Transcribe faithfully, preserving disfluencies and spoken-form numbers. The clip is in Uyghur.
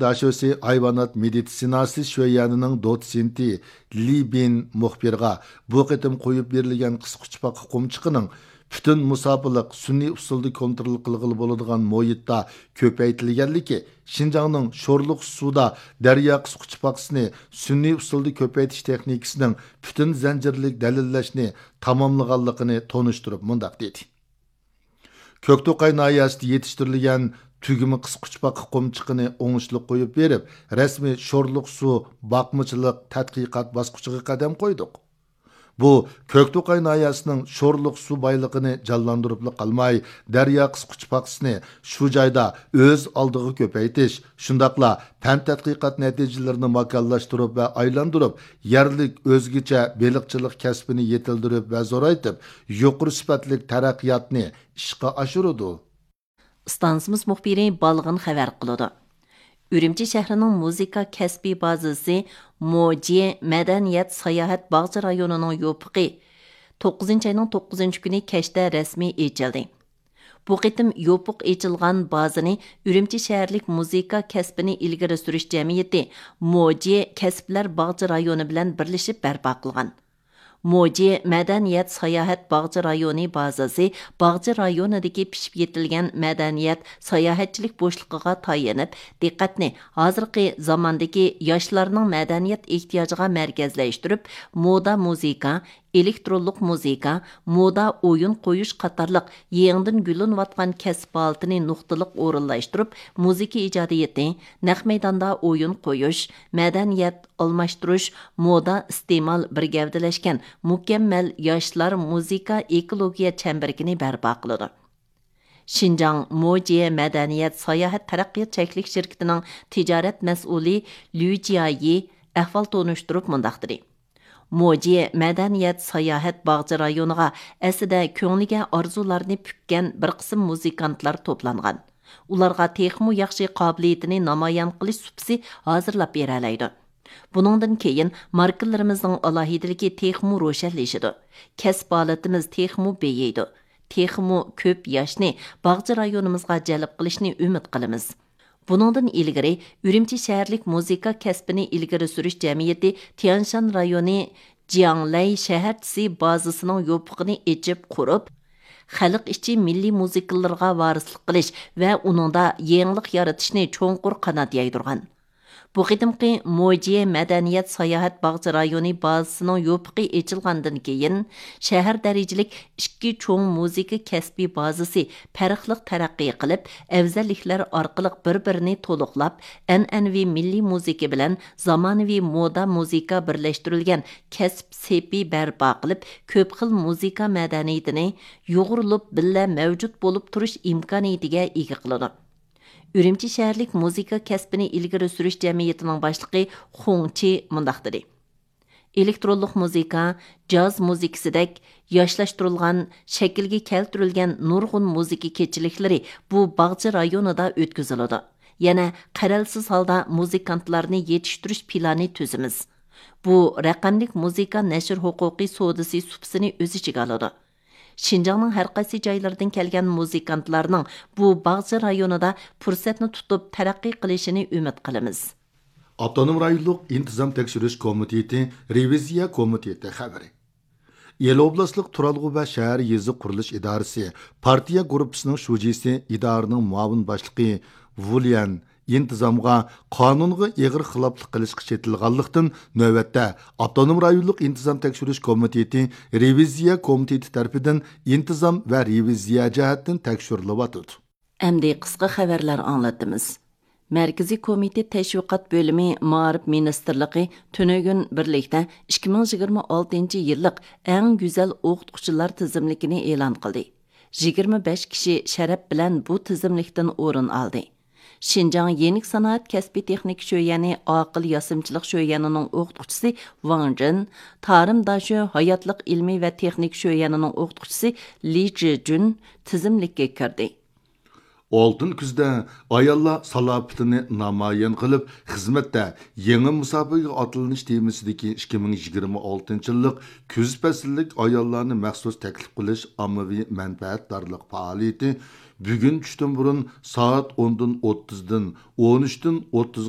داشۆسى ھايۋانات مېدىتسىناسى شۆيەنىنىڭ دوتسېنتى لى بىن مۇخبىرغا بۇ قېتىم قويۇپ بېرىلگەن قىسقۇچپاق قۇمچىقىنىڭ پۈتۈن مۇساپىلىق سۈنئىي ئۇسۇلدا كونترول قىلغىلى بولىدىغان مۇھىتتا كۆپەيتىلگەنلىكى، شىنجاڭنىڭ شورلۇق سۇدا دەريا قىسقۇچپاقىسىنى سۈنئىي ئۇسۇلدا كۆپەيتىش تېخنىكىسىنىڭ پۈتۈن زەنجىرلىك دەلىللەشنى تاماملىغانلىقىنى تونۇشتۇرۇپ مۇنداق دېدى. كۆكتوقاي ناھىيەسىدە يېتىشتۈرۈلگەن تۈگمە قىسقۇچپاق قۇمچىقىنى ئوڭۇشلۇق قويۇپ بېرىپ، رەسمىي شورلۇق سۇ باقمىچىلىق تەتقىقات باسقۇچىغا قەدەم قويدۇق. بۇ كۆكتوقاي ناھىيەسىنىڭ شورلۇق سۇ بايلىقىنى جانلاندۇرۇپلا قالماي، دەريا قىسقۇچپاقىسىنى شۇ جايدا ئۆز ئالدىغا كۆپەيتىش، شۇنداقلا پەن تەتقىقات نەتىجىلىرىنى ماكانلاشتۇرۇپ ۋە ئايلاندۇرۇپ، يەرلىك ئۆزگىچە بېلىقچىلىق كەسپىنى يېتىلدۈرۈپ ۋە زورايتىپ، يۇقىرى سۈپەتلىك تەرەققىياتنى ئىشقا ئاشۇرىدۇ. ئىستانسىمىز مۇخبىرى بالغىن خەۋەر قىلىدۇ. ئۈرۈمچى شەھىرىنىڭ مۇزىكا كەسپىي بازىسى موجى مەدەنىيەت ساياھەت باغچە رايونىنىڭ يوپۇقى توققۇزىنچى ئاينىڭ توققۇزىنچى كۈنى كەچتە رەسمىي ئېچىلدى. بۇ قېتىم يوپۇق ئېچىلغان بازىنى ئۈرۈمچى شەھەرلىك مۇزىكا كەسپىنى ئىلگىرى سۈرۈش جەمئىيىتى موجى كەسىپلەر باغچە رايونى بىلەن بىرلىشىپ بەرپا قىلغان. موجى مەدەنىيەت ساياھەت باغچە رايونى بازىسى باغچە رايونىدىكى پىشىپ يېتىلگەن مەدەنىيەت ساياھەتچىلىك بوشلۇقىغا تايىنىپ، دىققەتنى ھازىرقى زاماندىكى ياشلارنىڭ مەدەنىيەت ئېھتىياجىغا مەركەزلەشتۈرۈپ، مودا مۇزىكا، ئېلېكترونلۇق مۇزىكا، مودا ئويۇن قويۇش قاتارلىق يېڭىدىن گۈللىنىۋاتقان كەسىپ ھالىتىنى نۇقتىلىق ئورۇنلاشتۇرۇپ، مۇزىكا ئىجادىيىتى، نەق مەيداندا ئويۇن قويۇش، مەدەنىيەت، ئالماشتۇرۇش، مودا، ئىستېمال بىر گەۋدىلەشكەن مۇكەممەل ياشلار مۇزىكا ئېكولوگىيە چەمبىرىكىنى بەرپا قىلىدۇ. شىنجاڭ موجى مەدەنىيەت ساياھەت تەرەققىيات چەكلىك شىركىتىنىڭ تىجارەت مەسئۇلى لۈ جيايى ئەھۋال تونۇشتۇرۇپ مۇنداق دېدى: موجى مەدەنىيەت ساياھەت باغچە رايونىغا ئەسلىدە كۆڭلىگە ئارزۇلارنى پۈككەن بىر قىسىم مۇزىكانتلار توپلانغان. ئۇلارغا تېخىمۇ ياخشى قابىلىيىتىنى نامايان قىلىش سۇپىسى ھازىرلاپ بېرەلەيدۇ. بۇنىڭدىن كېيىن ماركىلىرىمىزنىڭ ئالاھىدىلىكى تېخىمۇ روشەنلىشىدۇ. كەسىپ ھالىتىمىز تېخىمۇ بېيىيدۇ. تېخىمۇ كۆپ ياشنى باغچە رايونىمىزغا جەلپ قىلىشنى ئۈمىد قىلىمىز. بۇنىڭدىن ئىلگىرى، ئۈرۈمچى شەھەرلىك مۇزىكا كەسپىنى ئىلگىرى سۈرۈش جەمئىيىتى تيەنشان رايونى جياڭلەي شەھەرچىسى بازىسىنىڭ يوپۇقىنى ئېچىپ قۇرۇپ، خەلق ئىچى مىللىي مۇزىكىلىرىغا ۋارىسلىق قىلىش ۋە ئۇنىڭدا يېڭىلىق يارىتىشنى چوڭقۇر قانات يايدۇرغان. بۇ قېتىمقى موجيې مەدەنىيەت ساياھەت باغچە رايونى بازىسىنىڭ يوپۇقى ئېچىلغاندىن كېيىن، شەھەر دەرىجىلىك ئىككى چوڭ مۇزىكا كەسپىي بازىسى پەرقلىق تەرەققىي قىلىپ، ئەۋزەللىكلەر ئارقىلىق بىر-بىرىنى تولۇقلاپ، ئەنئەنىۋى مىللىي مۇزىكا بىلەن زامانىۋى مودا مۇزىكا بىرلەشتۈرۈلگەن كەسىپ سېپى بەرپا قىلىپ، كۆپ خىل مۇزىكا مەدەنىيىتىنى يۇغۇرۇلۇپ بىللە مەۋجۇت بولۇپ تۇرۇش ئىمكانىيىتىگە ئىگە قىلىدۇ. ئۈرۈمچى شەھەرلىك مۇزىكا كەسپىنى ئىلگىرى سۈرۈش جەمئىيىتىنىڭ باشلىقى خۇڭ چى مۇنداق دېدى: ئېلېكترونلۇق مۇزىكا، جاز مۇزىكىسىدەك ياشلاشتۇرۇلغان، شەكىلگە كەلتۈرۈلگەن نۇرغۇن مۇزىكا كېچىلىكلىرى بۇ باغچە رايونىدا ئۆتكۈزۈلىدۇ. يەنە قەرەلسىز ھالدا مۇزىكانتلارنى يېتىشتۈرۈش پىلانى تۈزىمىز. بۇ رەقەملىك مۇزىكا نەشر ھوقۇقى سودىسى سۇپىسىنى ئۆز ئىچىگە ئالىدۇ. شىنجاڭنىڭ ھەر قايسى جايلىرىدىن كەلگەن مۇزىكانتلارنىڭ بۇ باغچە رايونىدا پۇرسەتنى تۇتۇپ تەرەققىي قىلىشىنى ئۈمىد قىلىمىز. ئاپتونوم رايونلۇق ئىنتىزام تەكشۈرۈش كومىتېتى رېۋىزىيە كومىتېتى خەۋىرى. ئىلى ئوبلاستلىق تۇرالغۇ ۋە شەھەر يېزا قۇرۇلۇش ئىدارىسى پارتىيە گۇرۇپپىسىنىڭ شۇجىسى، ئىدارىنىڭ مۇئاۋىن باشلىقى ۋۇليەن ئىنتىزامغا قانۇنغا ئېغىر خىلاپلىق قىلىشقا چېتىلغانلىقتىن، نۆۋەتتە ئاپتونوم رايونلۇق ئىنتىزام تەكشۈرۈش كومىتېتى رېۋىزىيە كومىتېتى تەرىپىدىن ئىنتىزام ۋە رېۋىزىيە جەھەتتىن تەكشۈرۈلۈۋاتىدۇ. ئەمدى قىسقا خەۋەرلەر ئاڭلىتىمىز. مەركىزىي كومىتېت تەشۋىقات بۆلۈمى مائارىپ مىنىستىرلىقى تۈنۈگۈن بىرلىكتە ئىككى مىڭ يىگىرمە ئالتىنچى يىللىق ئەڭ گۈزەل ئوقۇتقۇچىلار تىزىملىكىنى ئېلان قىلدى. يىگىرمە بەش كىشى شەرەپ بىلەن بۇ تىزىملىكتىن ئورۇن ئالدى. شىنجاڭ يېنىك سانائەت كەسپىي تېخنىكا شۆيەنى ئاقىل ياسىمىچىلىق شۆيەنىنىڭ ئوقۇتقۇچىسى ۋاڭ جىن، تارىم داشۆ ھاياتلىق ئىلمى ۋە تېخنىكا شۆيەنىنىڭ ئوقۇتقۇچىسى لى جىجۈن تىزىملىككە كىردى. ئالتۇن كۈزدە ئاياللار سالاپىتىنى نامايان قىلىپ، خىزمەتتە يېڭى مۇساپىگە ئاتلىنىش تېمىسىدىكى ئىككى مىڭ يىگىرمە ئالتىنچى يىللىق كۈز پەسىللىك ئاياللارنى مەخسۇس تەكلىپ قىلىش ئاممىۋى مەنپەئەتدارلىق پائالىيىتى بۈگۈن چۈشتىن بۇرۇن سائەت ئوندىن ئوتتۇزدىن ئون ئۈچتىن ئوتتۇزغا